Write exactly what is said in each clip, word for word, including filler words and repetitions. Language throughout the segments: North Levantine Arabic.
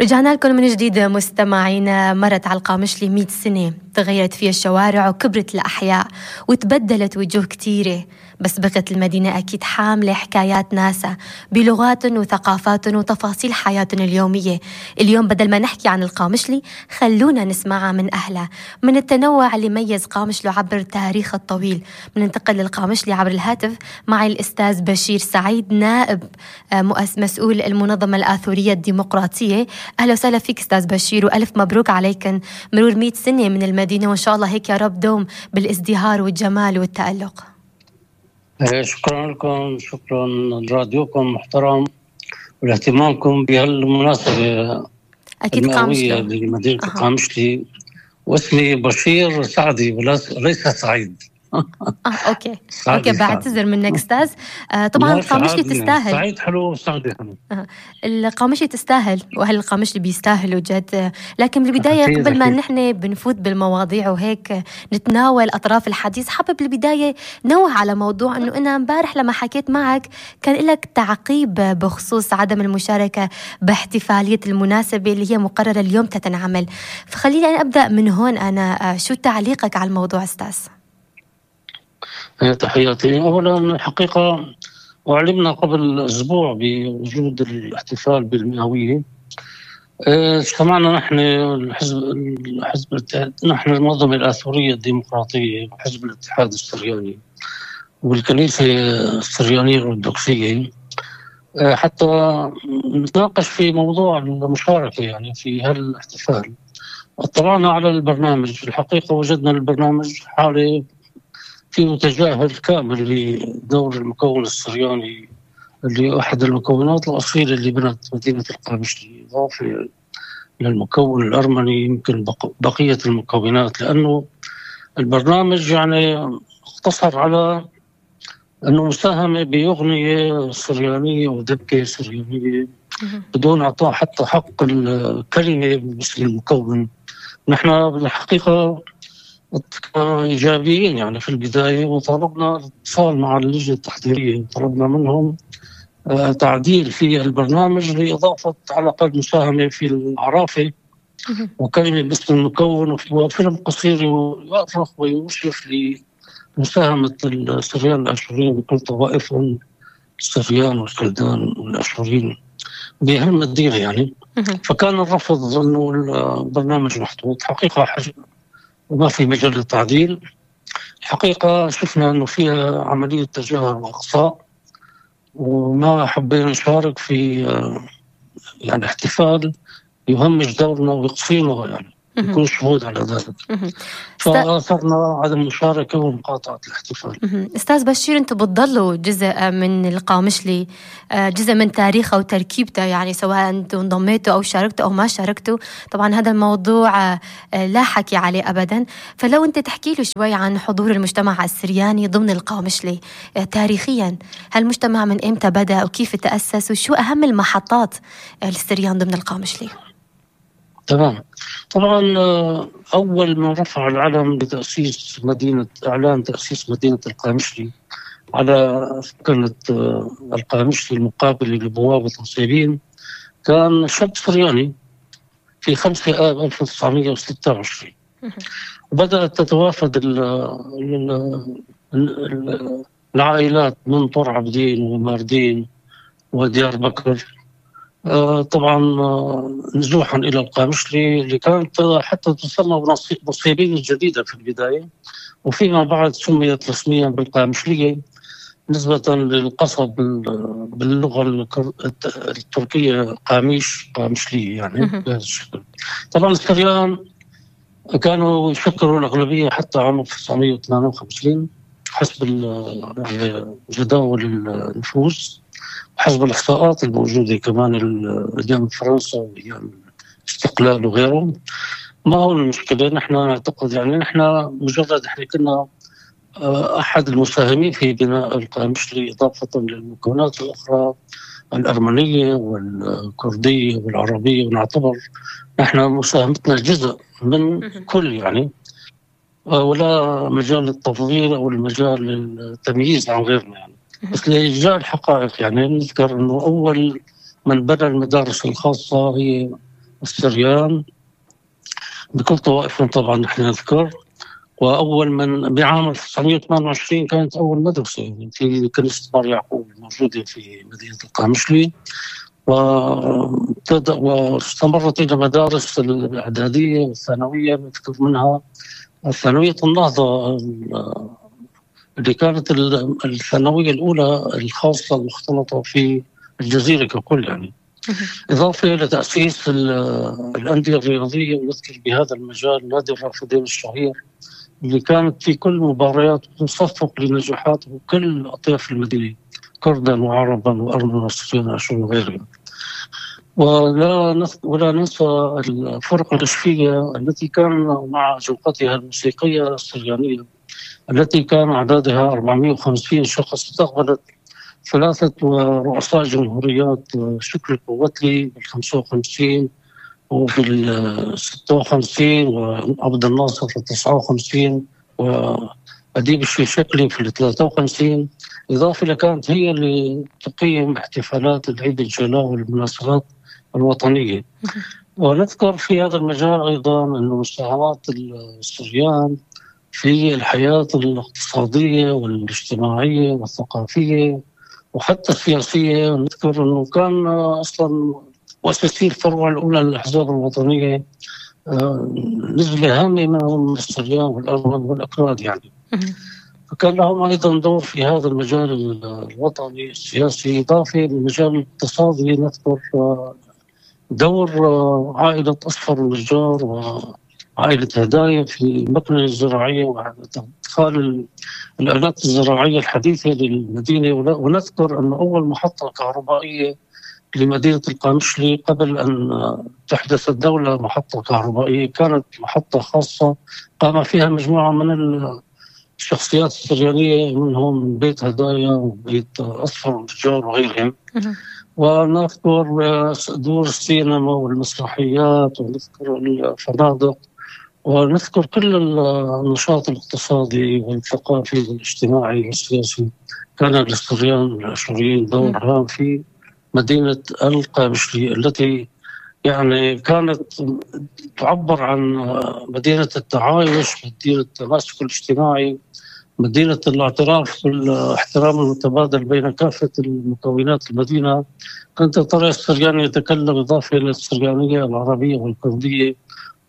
رجعنا لكم من جديد مستمعينا. مرت على القامشلي مئة سنة، تغيرت فيها الشوارع وكبرت الأحياء وتبدلت وجوه كتيرة، بس بقت المدينة أكيد حاملة حكايات ناسها بلغاتهم وثقافاتهم وتفاصيل حياتهم اليومية. اليوم بدل ما نحكي عن القامشلي خلونا نسمعها من أهلها، من التنوع اللي ميز قامشلي عبر تاريخ الطويل. بننتقل للقامشلي عبر الهاتف معي الأستاذ بشير سعيد، نائب مؤسس مسؤول المنظمة الآثورية الديمقراطية. أهلا وسهلا فيك أستاذ بشير، وألف مبروك عليكم مرور مئة سنة من المدينة، وإن شاء الله هيك يا رب دوم بالازدهار والجمال والتألق. شكرا لكم، شكرا لراديوكم محترم ولاهتمامكم بهالمناسبة أكيد المئوية لمدينة أه. قامشلي. واسمي بشير سعدي وليس سعيد. اه اوكي اوكي بعتذر منك استاذ. آه طبعا قامشلي تستاهل. سعيد حلو وسعدي حلو. آه القامشلي تستاهل، واهل القامشلي بيستاهلوا جد. آه لكن بالبدايه أكيد قبل ما أكيد. نحن بنفوت بالمواضيع وهيك نتناول اطراف الحديث، حابب بالبدايه نوه على موضوع انه انا امبارح لما حكيت معك كان لك تعقيب بخصوص عدم المشاركه باحتفاليه المناسبه اللي هي مقرره اليوم تتنعمل، فخليني أنا ابدا من هون. انا آه شو تعليقك على الموضوع استاذ؟ تحياتي. أولا الحقيقة أعلمنا قبل أسبوع بوجود الاحتفال بالمئوية. اجتمعنا نحن الحزب الحزب نحن المنظمة الآثورية الديمقراطية وحزب الاتحاد السرياني والكنيسة السريانية الأرثوذكسية حتى نتناقش في موضوع المشاركة يعني في هالاحتفال. اطلعنا على البرنامج، الحقيقة وجدنا البرنامج حالة فيه تجاهل كامل لدور المكون السرياني اللي أحد المكونات الأصيلة اللي بنت مدينة القامشلي، إضافة للمكون الأرمني يمكن بقية المكونات، لأنه البرنامج يعني اقتصر على أنه مساهمة بأغنية سريانية ودبكة سريانية بدون إعطاء حتى حق الكلمة باسم المكون. نحن بالحقيقة إيجابيين يعني في البداية، وطلبنا اتصال مع اللجنة التحضيرية وطلبنا منهم تعديل في البرنامج لإضافة على الأقل مساهمة في العرافة وكلمة باسم المكون وفيلم قصير يؤرخ ويشرف لمساهمة السريان الأشوريين بكل طوائفهم، السريان والكلدان والأشوريين بهالمدينة يعني. فكان الرفض أنه البرنامج محطوط. حقيقة حاجة وما في مجال للتعديل. الحقيقة شفنا أنه فيها عملية تجاهل وإقصاء، وما حبينا نشارك في يعني احتفال يهمش دورنا ويقصينا يعني يكون شهود على ذلك. فأثرنا عدم المشاركة ومقاطعة الاحتفال. أستاذ بشير، أنتم بتضلوا جزء من القامشلي، جزء من تاريخه وتركيبته، يعني سواء أنتم انضميتوا أو شاركتوا أو ما شاركتوا. طبعا هذا الموضوع لا حكي عليه أبدا، فلو أنت تحكي له شوي عن حضور المجتمع السرياني ضمن القامشلي تاريخيا. هالمجتمع من إمتى بدأ وكيف تأسس وشو أهم المحطات للسريان ضمن القامشلي؟ تمام. طبعا أول ما رفع العلم لتأسيس مدينة إعلان تأسيس مدينة القامشلي على سكنة القامشلي المقابل لبوابة الصيبين كان شاب سرياني في خمسة آب ألف وتسعمائة وستة وعشرين. وبدأت تتوافد العائلات من طور عبدين وماردين وديار بكر طبعا نزوحا إلى القامشلي اللي كانت حتى تسمى بنصيبين الجديدة في البداية، وفيما بعد سميت رسميا بالقامشلية نسبة للقصب باللغة التركية قاميش قامشلية يعني بهذا الشكل. طبعا السريان كانوا يشكلوا الأغلبية حتى عام ألف وتسعمائة وثمانية وخمسين حسب جداول النفوذ حسب الإحصاءات الموجودة كمان أيام فرنسا وأيام الاستقلال وغيره. ما هو المشكلة؟ نحن نعتقد يعني نحن مجرد احنا كنا أحد المساهمين في بناء القامشلي إضافة للمكونات الأخرى الأرمنية والكردية والعربية، ونعتبر نحن مساهمتنا جزء من كل يعني، ولا مجال للتفضيل أو المجال للتمييز عن غيرنا يعني. بس لإرجاع الحقائق يعني نذكر أنه أول من بنى المدارس الخاصة هي السريان بكل طوائفهم طبعا نحن نذكر. وأول من بعام ألف وتسعمائة وثمانية وعشرين كانت أول مدرسة في كنيسة مار يعقوب موجودة في مدينة القامشلي، واستمرت إلى مدارس الإعدادية والثانوية. نذكر منها ثانوية النهضة اللي كانت الثانوية الأولى الخاصة المختلطة في الجزيرة ككل يعني، إضافة إلى تأسيس الأندية الرياضية. ونذكر بهذا المجال نادي الرافدين الشهير اللي كانت في كل مباريات تصفق لنجاحات كل أطياف المدينة، كردا وعربا وأرمنا وسوريين وأشور وغيرها. ولا ولا ننسى الفرقة الأشفية التي كان مع جوقتها الموسيقية السريانية التي كان عددها أربعمائة وخمسين شخص، استقبلت ثلاثة رؤساء جمهوريات، شكري القوتلي بالخمسة وخمسين وبالستة وخمسين وعبد الناصر في التسعة وخمسين وأديب الشيشكلي في الثلاثة وخمسين. إضافة إلى كانت هي اللي تقيم احتفالات العيد الجلاء والمناسبات الوطنية. ونذكر في هذا المجال أيضا أن مساهمات السريان في الحياة الاقتصادية والاجتماعية والثقافية وحتى السياسية. نذكر أنه كان أصلا مؤسسي الفروع الأولى للأحزاب الوطنية نسبة هامة منهم السريان والأرمن والأكراد يعني، فكان لهم أيضا دور في هذا المجال الوطني السياسي. إضافة للمجال الاقتصادي نذكر دور عائلة أصفر النجار وعائلة هدايا في المكنة الزراعية وادخال الآلات الزراعية الحديثة للمدينة. ونذكر أن أول محطة كهربائية لمدينة القامشلي قبل أن تحدث الدولة محطة كهربائية كانت محطة خاصة قام فيها مجموعة من الشخصيات السريانية، منهم بيت هدايا وبيت أصفر النجار وغيرهم. ونذكر دور السينما والمسرحيات ونذكر الفنادق ونذكر كل النشاط الاقتصادي والثقافي والاجتماعي والسياسي. كان للسريان الأشوريين دور هام في مدينة القامشلي التي يعني كانت تعبر عن مدينة التعايش، مدينة التماسك الاجتماعي، مدينة الاعتراف والاحترام المتبادل بين كافة المكونات المدينة. كنت ترى السريان يتكلم إضافة إلى السريانية العربية والكردية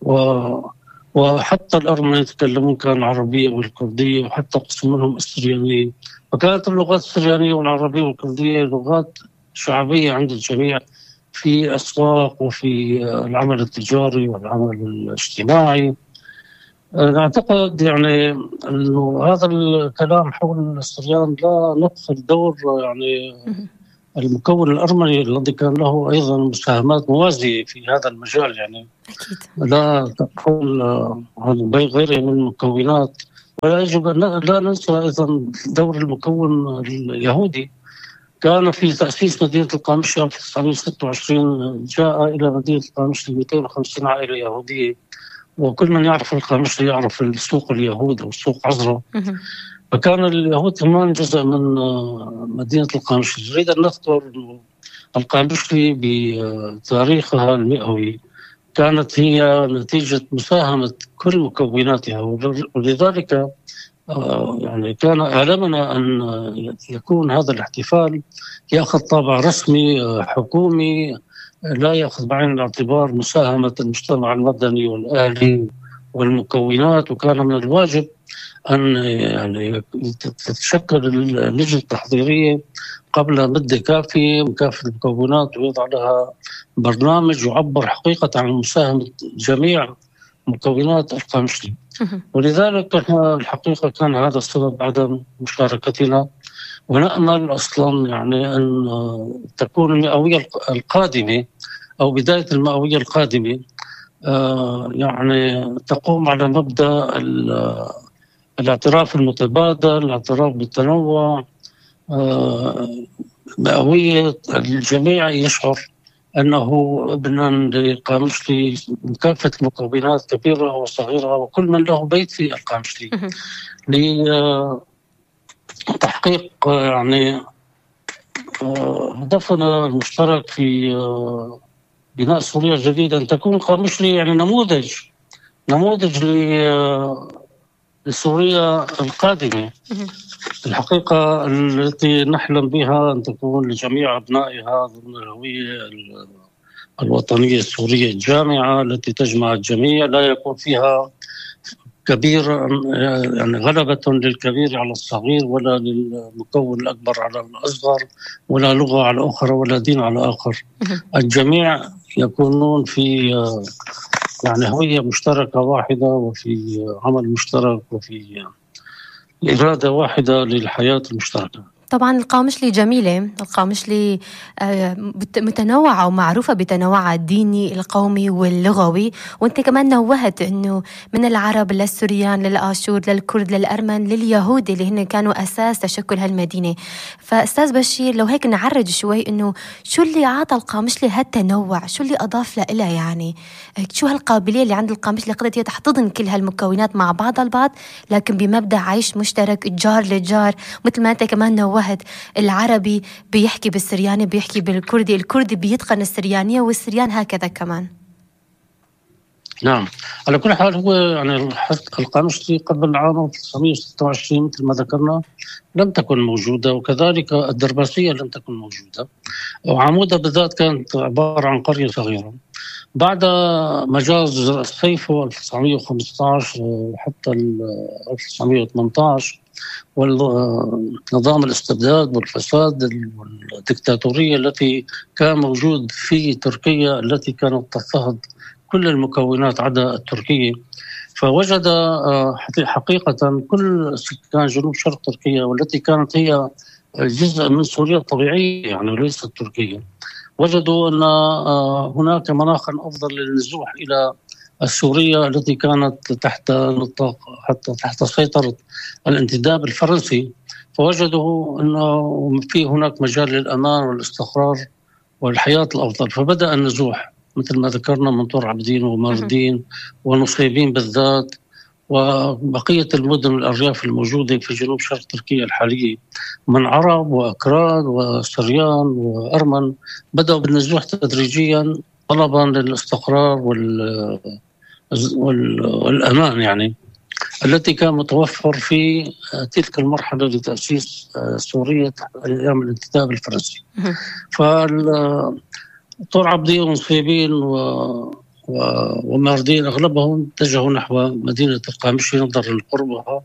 و... وحتى الأرمن يتكلمون كان العربية والكردية وحتى قسم منهم السريانية. فكانت اللغات السريانية والعربية والكردية لغات شعبية عند الجميع في أسواق وفي العمل التجاري والعمل الاجتماعي. أعتقد يعني أنه هذا الكلام حول السريان لا نغفل دور يعني المكون الأرمني الذي كان له أيضا مساهمات موازية في هذا المجال يعني أكيد. لا تقول عن غيره من المكونات. ولا يجب أن لا ننسى أيضا دور المكون اليهودي. كان في تأسيس مدينة القامشلي في ألف وتسعمائة وستة وعشرين جاء إلى مدينة القامشلي مئتين وخمسين عائلة يهودية، وكل من يعرف القامشلي يعرف السوق اليهود أو سوق عزرا. فكان اليهود كمان جزء من مدينة القامشلي. نريد أن نذكر القامشلي بتاريخها المئوي كانت هي نتيجة مساهمة كل مكوناتها، ولذلك يعني كان أعلمنا أن يكون هذا الاحتفال يأخذ طابع رسمي حكومي، لا يأخذ بعين الاعتبار مساهمة المجتمع المدني والأهلي والمكونات. وكان من الواجب أن يعني تتشكل اللجنة التحضيرية قبل مدة كافية من كافة المكونات ويضع لها برنامج يعبر حقيقة عن مساهمة جميع مكونات القامشلي. ولذلك الحقيقة كان هذا السبب عدم مشاركتنا. ونأمل أصلا يعني أن تكون المئوية القادمة أو بداية المئوية القادمة يعني تقوم على مبدأ الاعتراف المتبادل، الاعتراف بالتنوع، مئوية الجميع يشعر أنه ابنا للقامشلي من كافة المكونات كبيرة وصغيرة وكل من له بيت في القامشلي لتحقيق يعني هدفنا المشترك في بناء سوريا الجديدة أن تكون القامشلي يعني نموذج نموذج لسوريا القادمة. الحقيقة التي نحلم بها أن تكون لجميع أبنائها ضمن الهوية الوطنية السورية الجامعة التي تجمع الجميع، لا يكون فيها كبير يعني غلبة للكبير على الصغير، ولا للمكون الأكبر على الأصغر، ولا لغة على أخرى، ولا دين على آخر. الجميع يكونون في يعني هوية مشتركة واحدة، وفي عمل مشترك، وفي إرادة واحدة للحياة المشتركة. طبعا القامشلي جميلة، القامشلي متنوعة ومعروفة بتنوعها الديني القومي واللغوي، وانت كمان نوهت انه من العرب للسوريان للآشور للكرد للأرمن لليهود اللي هن كانوا أساس تشكل هالمدينة. فأستاذ بشير لو هيك نعرج شوي انه شو اللي عاطى القامشلي هالتنوع، شو اللي أضاف لها، يعني شو هالقابلية اللي عند القامشلي قدرت تحتضن كل هالمكونات مع بعض البعض لكن بمبدأ عيش مشترك الجار للجار. مثل ما انت كمان نوهت العربي بيحكي بالسرياني بيحكي بالكردي، الكردي بيتقن السريانية والسريان هكذا كمان. نعم، على كل حال هو يعني القامشلي قبل عام ألف وتسعمائة وستة وعشرين مثل ما ذكرنا لم تكن موجودة، وكذلك الدرباسية لم تكن موجودة، وعمودة بالذات كانت عبارة عن قرية صغيرة. بعد مجاز الصيف ألف وتسعمائة وخمسة عشر حتى ألف وتسعمائة وثمانية عشر والنظام الاستبداد والفساد والدكتاتورية التي كان موجود في تركيا التي كانت تضطهد كل المكونات عدا التركية، فوجد حقيقة كل سكان جنوب شرق تركيا والتي كانت هي جزء من سوريا الطبيعية يعني وليست تركيا، وجدوا أن هناك مناخا أفضل للنزوح إلى السورية التي كانت تحت نطاق حتى تحت سيطرة الانتداب الفرنسي، فوجدوا أنه في هناك مجال للأمان والاستقرار والحياة الأفضل، فبدأ النزوح مثل ما ذكرنا من طور عابدين وماردين ونصيبين بالذات وبقية المدن والأرياف الموجودة في جنوب شرق تركيا الحالية من عرب وأكراد وسريان وأرمن، بدأوا بالنزوح تدريجيا طلبا للاستقرار وال والأمان يعني التي كان متوفر في تلك المرحلة لتأسيس سوريا أيام الانتداب الفرنسي. فطور عابدين ونصيبين و... و... وماردين أغلبهم اتجهوا نحو مدينة القامشلي نظرا لقربها،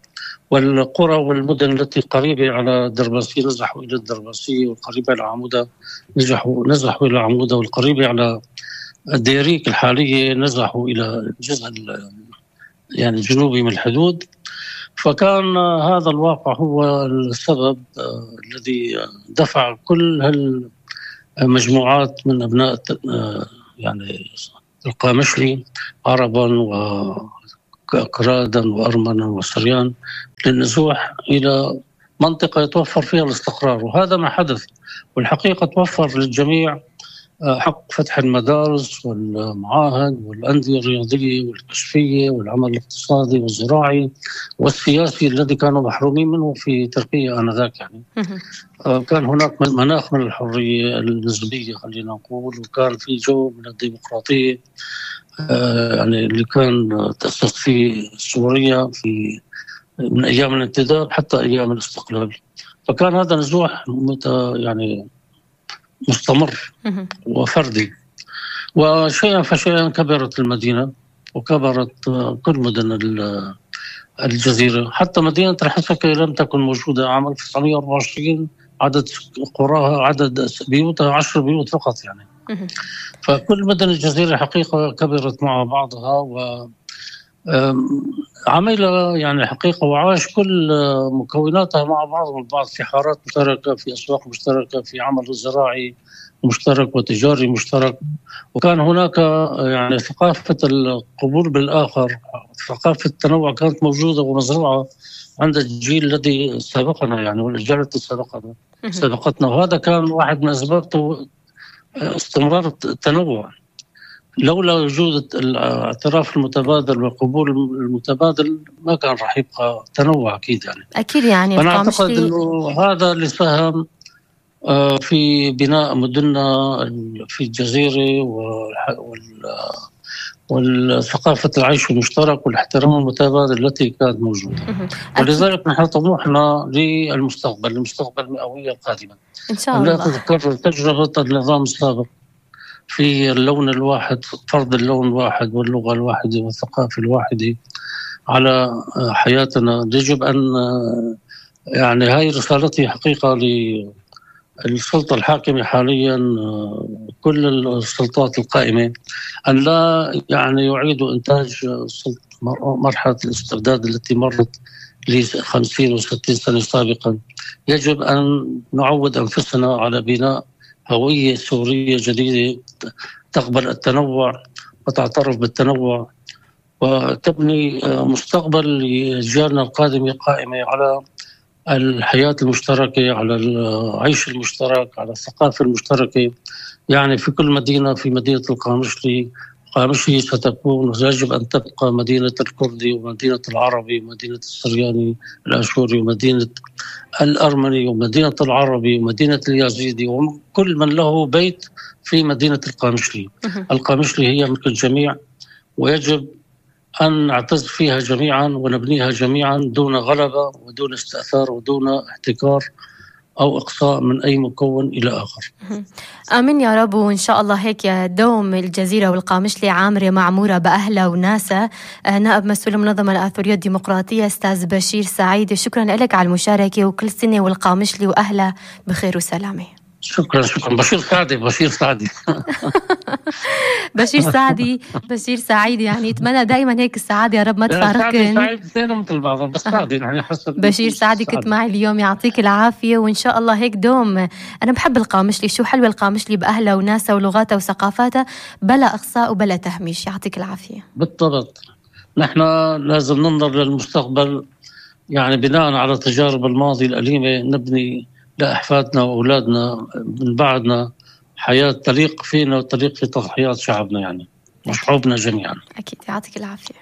والقرى والمدن التي قريبة على درباسية نزحوا إلى الدرباسية، والقريبة على عمودة نزحوا نزحوا إلى عمودة، والقريبة على الديريك الحالية نزحوا إلى الجزء يعني الجنوبي من الحدود. فكان هذا الواقع هو السبب الذي دفع كل هالمجموعات من أبناء يعني القامشلي عربا وأكرادا وأرمنا وسريان للنزوح إلى منطقة يتوفر فيها الاستقرار، وهذا ما حدث. والحقيقة توفر للجميع حق فتح المدارس والمعاهد والأندية الرياضية والكشفية والعمل الاقتصادي والزراعي والسياسي الذي كانوا محرومين منه في تركيا آنذاك يعني. كان هناك مناخ من الحرية النسبية خلينا نقول، وكان في جو من الديمقراطية يعني اللي كان تأسس فيه سوريا في من أيام الانتداب حتى أيام الاستقلال. فكان هذا نزوح يعني مستمر وفردي، وشيئا فشيئا كبرت المدينة وكبرت كل مدن الجزيرة، حتى مدينة الحسكة لم تكن موجودة عام ألف وتسعمائة وأربعة وعشرين، عدد قراها عدد بيوتها عشر بيوت فقط يعني. فكل مدن الجزيرة حقيقة كبرت مع بعضها و عمل يعني حقيقة وعاش كل مكوناتها مع بعض البعض في حارات مشتركة، في أسواق مشتركة، في عمل زراعي مشترك وتجاري مشترك، وكان هناك يعني ثقافة القبول بالآخر، ثقافة التنوع كانت موجودة ومزروعة عند الجيل الذي سبقنا يعني والأجيال التي سبقنا سبقتنا، وهذا كان واحد من أسباب استمرار التنوع. لولا وجود الاعتراف المتبادل والقبول المتبادل ما كان راح يبقى تنوع أكيد يعني. أكيد يعني. أنا أعتقد أنه هذا اللي ساهم آه، في بناء مدننا في الجزيرة والح- وال- والثقافة العيش المشترك والاحترام المتبادل التي كانت موجودة. مهم. أكيد ولذلك نحن طموحنا للمستقبل المستقبل المئوية القادمة إن شاء أن لا الله. تتكرر تجربة النظام السابق في اللون الواحد، فرض اللون الواحد واللغة الواحدة والثقافة الواحدة على حياتنا. يجب أن يعني هاي رسالتي حقيقة للسلطة الحاكمة حاليا، كل السلطات القائمة، أن لا يعني يعيدوا إنتاج مرحلة الاستبداد التي مرت لخمسين وستين سنة سابقا. يجب أن نعود أنفسنا على بناء هوية سورية جديدة تقبل التنوع وتعترف بالتنوع وتبني مستقبل لأجيالنا القادمة قائمة على الحياة المشتركة، على العيش المشترك، على الثقافة المشتركة. يعني في كل مدينة، في مدينة القامشلي قامشلي ستكون ويجب أن تبقى مدينة الكردي ومدينة العربي ومدينة السرياني الأشوري ومدينة الأرمني ومدينة العربي ومدينة اليزيدي وكل من له بيت في مدينة القامشلي. مهم. القامشلي هي ملك الجميع، ويجب أن نعتز فيها جميعا ونبنيها جميعا دون غلبة ودون استئثار ودون احتكار أو إقصاء من أي مكون إلى آخر. مهم. آمين يا رب. وإن شاء الله هيك يا دوم الجزيرة والقامشلي عامرة معمورة بأهلها وناسها. آه، نائب مسؤول المنظمة الآثورية الديمقراطية أستاذ بشير سعيد، شكرا لك على المشاركة، وكل سنة والقامشلي وأهلها بخير وسلامة. شكرا شكرا. بشير سعدي بشير سعدي بشير سعدي بشير سعيد، يعني اتمنى دائما هيك السعادة يا رب ما لا، سعدي تفارقكن. سعيد اثنين مثل بعضهم، بس سعدي يعني حسب بشير سعدي كنت معي اليوم، يعطيك العافية وإن شاء الله هيك دوم. أنا بحب القامشلي، شو حلوة القامشلي بأهلها وناسها ولغاتها وثقافاتها، بلا إقصاء وبلا تهميش. يعطيك العافية. بالضبط. نحن لازم ننظر للمستقبل، يعني بناء على تجارب الماضي الأليمة نبني لأحفادنا وأولادنا من بعدنا حياة تليق فينا وتليق في تضحيات شعبنا يعني وشعوبنا جميعا. أكيد. يعطيك العافية.